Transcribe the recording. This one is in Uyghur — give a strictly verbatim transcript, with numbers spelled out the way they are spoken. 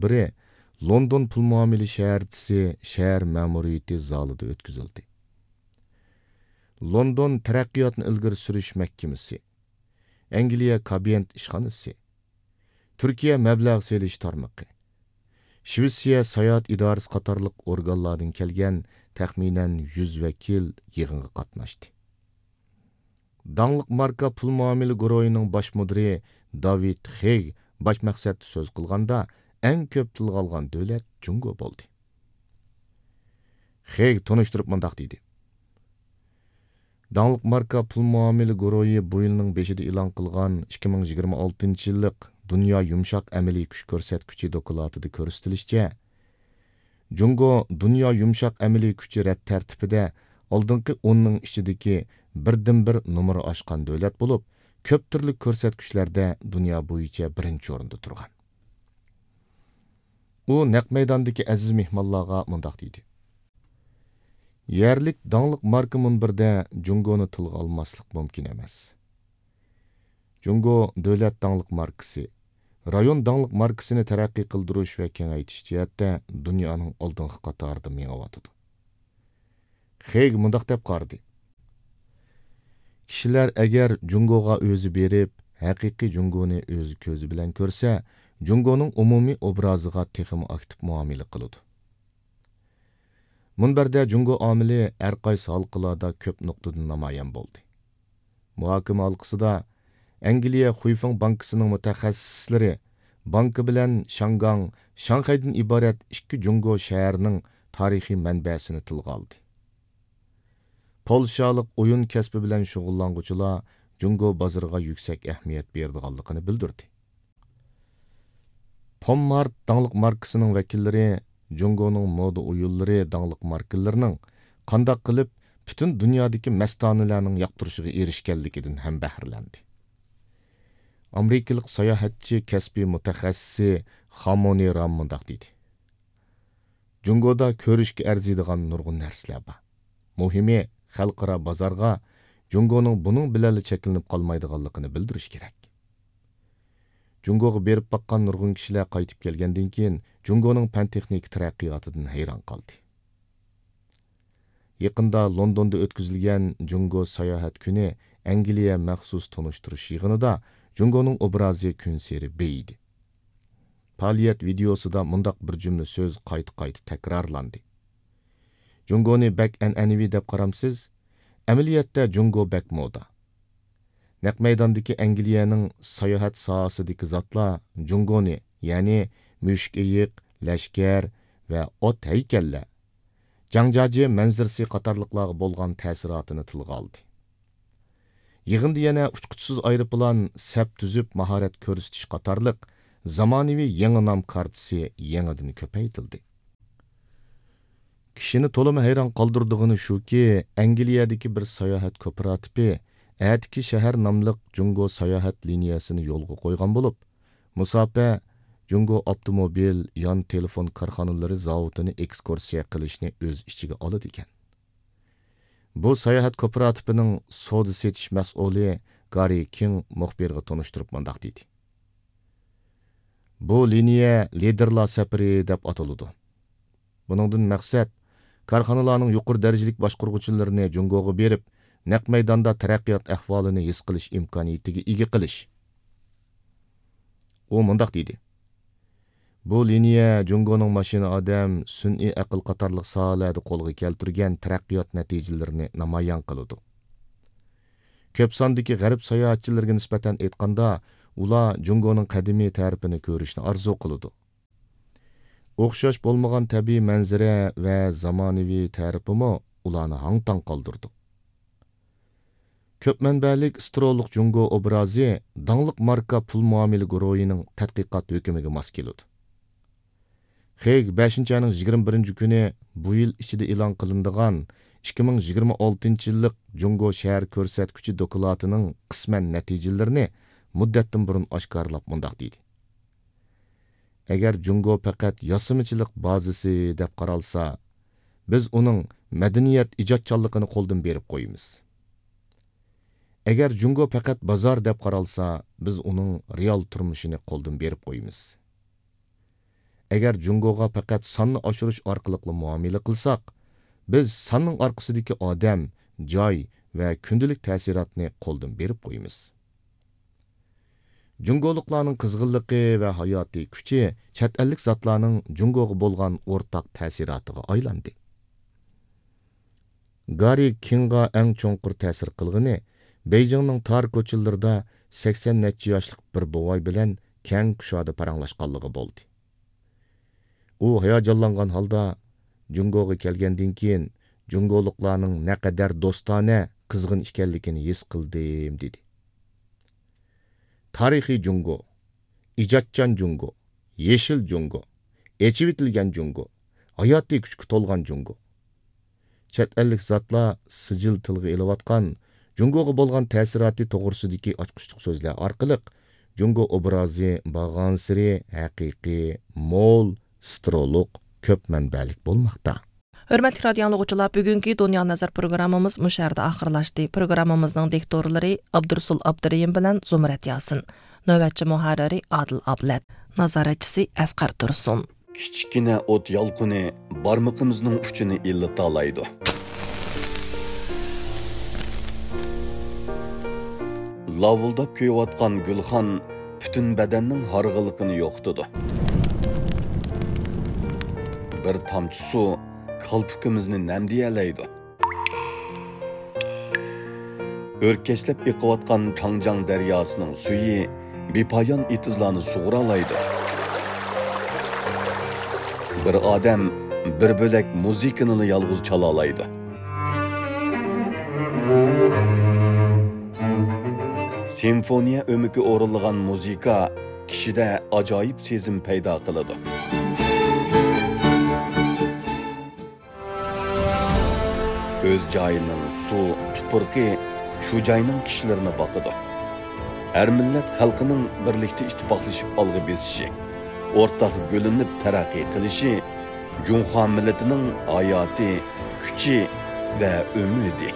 بىرى لوندون پۇل مۇئامىلە شەھەرچىسى شەھەر مەمۇرىيىتى زالىدا ئۆتكۈزۈلدى. لوندون تەرەققىياتنى ئىلگىرى سۈرۈش مەھكىمىسى، ئەنگلىيە كابىيەنت ئىشخانىسى، تۈركىيە مەبلەغ سېلىش تارمىقى، شىۋېتسىيە ساياھەت ئىدارىسى قاتارلىق ئورگانلاردىن كەلگەن تەخمىنەن يۈز ۋەكىل يىغىنغا قاتناشتى. داڭلىق ماركا پۇل مۇئامىلە گۇرۇھىنىڭ باش مۇدىرى داۋىد خېگ باش مەقسەتتە سۆز قىلغاندا، ئەڭ كۆپ تىلغا ئالغان دۆلەت جۇڭگو بولدى. خېگ تونۇشتۇرۇپ مۇنداق دېدى: داڭلىق ماركا پۇل مۇئامىلە گۇرۇھى بۇ يىلنىڭ بېشىدا ئېلان قىلغان ئىككى مىڭ يىگىرمە ئالتىنچى يىللىق دۇنيا يۇمشاق ئەمەلىي كۈچ كۆرسەتكۈچى دوكلاتىدا كۆرسىتىلىشىچە، جۇڭگو دۇنيا يۇمشاق ئەمەلىي كۈچى رەت تەرتىپىدە ئالدىنقى ئوننىڭ ئىچىدىكى بىردىنبىر نومۇر ئاشقان دۆلەت بولۇپ، كۆپ تۈرلۈك كۆرسەتكۈچلەردە دۇنيا بويىچە بىرىنچى ئورۇندا تۇرغان. ئۇ نەق مەيداندىكى ئەزىز مېھمانلارغا مۇنداق دېدى: يەرلىك داڭلىق ماركا مۇنبىرىدە جۇڭگونى تىلغا ئالماسلىق مۇمكىن ئەمەس. جۇڭگو دۆلەت داڭلىق ماركىسى، رايون داڭلىق ماركىسىنى تەرەققىي قىلدۇرۇش ۋە كېڭەيتىش جەھەتتە دۇنيانىڭ ئالدىنقى قاتارىدا مېڭىۋاتىدۇ. خېگ مۇنداق دەپ قارىدى: كىشىلەر ئەگەر جۇڭگوغا ئۆزى بېرىپ، ھەقىقىي جۇڭگونى ئۆز كۆزى بىلەن كۆرسە، جۇڭگونىڭ ئومۇمىي ئوبرازىغا تېخىمۇ ئاكتىپ مۇئامىلە قىلىدۇ. مۇنبەردە جۇڭگو ئامىلى ھەر قايسى ھالقىلاردا كۆپ نۇقتىدا نامايان بولدى. مۇھاكىمە ھالقىسىدا ئەنگلىيە خۇيفېڭ بانكىسىنىڭ مۇتەخەسسىسلىرى بانكا بىلەن شياڭگاڭ، شاڭخەيدىن ئىبارەت ئىككى جۇڭگو شەھىرىنىڭ تارىخىي مەنبەسىنى تىلغا ئالدى. پولشالىق ئويۇن كەسپى بىلەن شۇغۇللانغۇچىلار جۇڭگو بازىرىغا يۈكسەك ئەھمىيەت بېرىدىغانلىقىنى بىلدۈردى. پوم مارت داڭلىق ماركىسىنىڭ ۋەكىللىرى جۇڭگونىڭ مودا ئويۇنلىرى داڭلىق ماركىلىرىنىڭ قانداق قىلىپ پۈتۈن دۇنيادىكى مەستانىلەرنىڭ ياقتۇرۇشىغا ئېرىشكەنلىكىدىن ھەم بەھرىلەندى. ئامېرىكىلىق ساياھەتچى كەسپىي مۇتەخەسسىسى خامونى رام مۇنداق دېدى: جۇڭگودا كۆرۈشكە ئەرزىيدىغان نۇرغۇن نەرسىلەر بار. مۇھىمى، خەلقئارا بازارغا جۇڭگونىڭ بۇنىڭ بىلەنلا چەكلىنىپ قالمايدىغانلىقىنى بىلدۈرۈش كېرەك. جۇڭگوغا بېرىپ باققان نۇرغۇن كىشىلەر قايتىپ كەلگەندىن كېيىن، جۇڭگونىڭ پەن-تېخنىكا تەرەققىياتىدىن ھەيران قالدى. يېقىندا لوندوندا ئۆتكۈزۈلگەن جۇڭگو ساياھەت كۈنى ئەنگلىيە مەخسۇس تونۇشتۇرۇش يىغىنىدا جۇڭگونىڭ ئوبرازى كۈنسېرى بېيىدى. پائالىيەت ۋىدېئوسىدا مۇنداق بىر جۈملە سۆز قايتا-قايتا تەكرارلاندى: جۇڭگونى بەك ئەنئەنىۋى دەپ قارامسىز؟ ئەمەلىيەتتە جۇڭگو بەك مودا. نەق مەيداندىكى ئەنگلىيەنىڭ ساياھەت ساھەسىدىكى زاتلار جۇڭگونى، يەنى مۈشۈك ئېيىق، لەشكەر ۋە ئوت ھەيكەللەر، جاڭجياجيې مەنزىرىسى قاتارلىقلارغا بولغان تەسىراتىنى تىلغا ئالدى. يىغىندا يەنە ئۇچقۇچىسىز ئايروپىلان سەپ تۈزۈپ ماھارەت كۆرسىتىش قاتارلىق زامانىۋى يېڭى نام كارتىسى يېڭىدىن كۆپەيتىلدى. كىشىنى تولىمۇ ھەيران قالدۇرىدىغىنى شۇكى، ئەنگلىيەدىكى بىر ساياھەت كوپىراتىپى ئەتىكى شەھەر ناملىق جۇڭگو ساياھەت لىنىيەسىنى يولغا قويغان بولۇپ، مۇساپە جۇڭگو ئاپتوموبىل، يان تېلېفون كارخانىلىرى زاۋۇتىنى ئېكسكۇرسىيە قىلىشنى ئۆز ئىچىگە ئالىدىكەن. بۇ ساياھەت كوپىراتىپىنىڭ سودا سېتىش مەسئۇلى گاررى كىڭ مۇخبىرغا تونۇشتۇرۇپ مۇنداق دېدى: بۇ لىنىيە لىدېرلار سەپىرى دەپ ئاتىلىدۇ. بۇنىڭدىن مەقسەت، كارخانىلارنىڭ يۇقىرى دەرىجىلىك باشقۇرغۇچىلىرىنى جۇڭگوغا بېرىپ، نەق مەيداندا تەرەققىيات ئەھۋالىنى ھېس قىلىش ئىمكانىيىتىگە ئىگە قىلىش. ئۇ مۇنداق دېدى: بۇ لىنىيە جۇڭگونىڭ ماشىنا ئادەم، سۈنئىي ئەقىل قاتارلىق ساھەلەردە قولغا كەلتۈرگەن تەرەققىيات نەتىجىلىرىنى نامايان قىلىدۇ. كۆپ ساندىكى غەرب ساياھەتچىلىرىگە نىسبەتەن ئېيتقاندا، ئۇلار جۇڭگونىڭ قەدىمىي تەرىپىنى كۆرۈشنى ئارزۇ قىلىدۇ. ئوخشاش بولمىغان تەبىئىي مەنزىرە ۋە زامانىۋى تەرىپىمۇ ئۇلارنى ھاڭ-تاڭ قالدۇرىدۇ. كۆپ مەنبەلىك سترولۇق جۇڭگو ئوبرازى داڭلىق ماركا پۇل مۇئامىلە گۇرۇھىنىڭ تەتقىقات ھۆكۈمىگە ماس كېلىدۇ. خېگ بەشىنچى ئاينىڭ يىگىرمە بىرىنچى كۈنى بۇ يىل ئىچىدە ئېلان قىلىنىدىغان ئىككى مىڭ يىگىرمە ئالتىنچى يىللىق جۇڭگو شەھەر كۆرسەتكۈچى دوكلاتىنىڭ قىسمەن نەتىجىلىرىنى مۇددەتتىن بۇرۇن ئاشكارىلاپ مۇنداق دېدى: ئەگەر جۇڭگو پەقەت ياسىمىچىلىق بازىسى دەپ قارالسا، بىز ئۇنىڭ مەدەنىيەت ئىجادچانلىقىنى قولدىن بېرىپ قويىمىز. ئەگەر جۇڭگو پەقەت بازار دەپ قارالسا، بىز ئۇنىڭ رېئال تۇرمۇشىنى قولدىن بېرىپ قويىمىز. ئەگەر جۇڭگوغا پەقەت ساننى ئاشۇرۇش ئارقىلىقلا مۇئامىلە قىلساق، بىز ساننىڭ ئارقىسىدىكى ئادەم، جاي ۋە كۈندىلىك تەسىراتنى قولدىن بېرىپ قويىمىز. جۇڭگولۇقلارنىڭ قىزغىنلىقى ۋە ھاياتىي كۈچى چەت ئەللىك زاتلارنىڭ جۇڭگوغا بولغان ئورتاق تەسىراتىغا ئايلاندى. گارى كىڭغا ئەڭ چوڭقۇر تەسىر قىلغىنى بېيجىڭنىڭ تار كوچىلىرىدا سەكسەن نەچچە ياشلىق بىر بوۋاي بىلەن كەڭ كۇشادە پاراڭلاشقانلىقى بولدى. ئۇ ھاياجانلانغان ھالدا، جۇڭگوغا كەلگەندىن كېيىن جۇڭگولۇقلارنىڭ نەقەدەر دوستانە، قىزغىن ئىكەنلىكىنى ھېس قىلدىم، دېدى. تارىخىي جۇڭگو، ئىجادچان جۇڭگو، يېشىل جۇڭگو، ئېچىۋېتىلگەن جۇڭگو، ھاياتىي كۈچكە تولغان جۇڭگو. چەت ئەللىك زاتلار سىجىل تىلغا ئېلىۋاتقان جۇڭگوغا بولغان تەسىراتى توغرىسىدىكى ئاچقۇچلۇق سۆزلەر ئارقىلىق جۇڭگو ئوبرازى بارغانسېرى ھەقىقىي، مول، سترولۇق، كۆپ مەنبەلىك بولماقتا. ھۆرمەتلىك رادىيو ئاڭلىغۇچىلار، بۈگۈنكى دۇنيا نەزەر پروگراممىمىز مۇشۇ يەردە ئاخىرلاشتى. پروگراممىمىزنىڭ دىكتورلىرى ئابدۇرۇسۇل ئابدۇرېھىم بىلەن زۇمرەت ياسىن. نۆۋەتچى مۇھەررىرى ئادىل ئابلەت. نازارەتچىسى ئەسقەر تۇرسۇن. كىچىككىنە ئوت يالقۇنى بارمىقىمىزنىڭ ئۇچىنى ئىللىتالايدۇ. لاۋۇلداپ كۆيۈۋاتقان گۈلخان پۈتۈن بەدەننىڭ ھارغىنلىقىنى يوقىتىدۇ. بىر تامچە سۇ كالپۇكىمىزنى نەمدىيەلەيدۇ. ئۆركەشلەپ ئېقىۋاتقان چاڭجياڭ دەرياسىنىڭ سۈيى بىپايان ئېتىزلارنى سۇغۇرالايدۇ. بىر ئادەم بىر بۆلەك مۇزىكىنىلا يالغۇز چالالايدۇ. سىمفونىيە ئۆمىكى ئورۇنلىغان مۇزىكا كىشىدە ئاجايىپ سېزىم پەيدا قىلىدۇ. ئۆز جايىنىڭ سۇ، تۇپرىقى شۇ جاينىڭ كىشىلىرىنى باقىدۇ. ھەر مىللەت خەلقىنىڭ بىرلىكتە ئىتتىپاقلىشىپ ئالغا بېسىشى، ئورتاق گۈللىنىپ تەرەققىي قىلىشى جۇڭخۇا مىللىتىنىڭ ھاياتى، كۈچى ۋە ئۈمىدى.